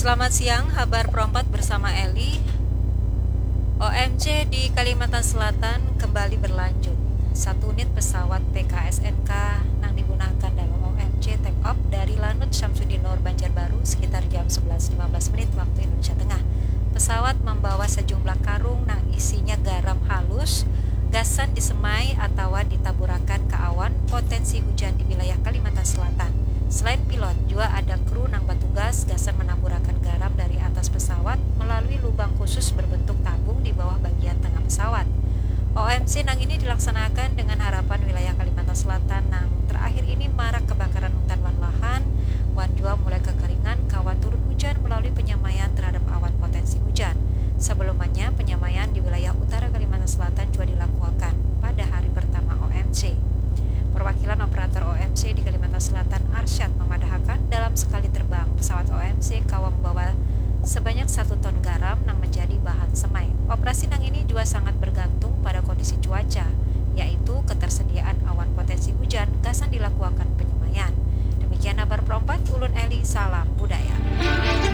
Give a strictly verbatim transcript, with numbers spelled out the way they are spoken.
Selamat siang, habar perompat bersama Eli. O M C di Kalimantan Selatan kembali berlanjut. Satu unit pesawat P K S N K nang digunakan dalam O M C take off dari Lanut Syamsuddin Noor Banjarbaru sekitar jam sebelas lima belas menit waktu Indonesia Tengah. Pesawat membawa sejumlah karung nang isinya garam halus, gasan disemai atawa ditaburakan ka awan potensi hujan di wilayah Kalimantan Selatan. Selain pilot, jua ada kru nang batugas gasan manaburakan garam dari atas pesawat melalui lubang khusus berbentuk tabung di bawah bagian tengah pesawat. O M C nang ini dilaksanakan dengan harapan wilayah Kalimantan Selatan nang terakhir ini marak kebakaran hutan wan lahan, wan jua mulai kekeringan kawa turun hujan melalui penyamaian terhadap awan potensi hujan. Sebelumnya, penyamaian di wilayah utara Kalimantan Selatan jua dilakuakan pada hari pertama O M C. Perwakilan operator O M C di Kalimantan Selatan, Arsyad, memadahakan dalam sekali terbang, pesawat O M C kawa membawa sebanyak satu ton garam nang menjadi bahan semai. Operasi nang ini jua sangat bergantung pada kondisi cuaca, yaitu ketersediaan awan potensi hujan gasan dilakuakan penyemaian. Demikian habar perompat, ulun Eli, salam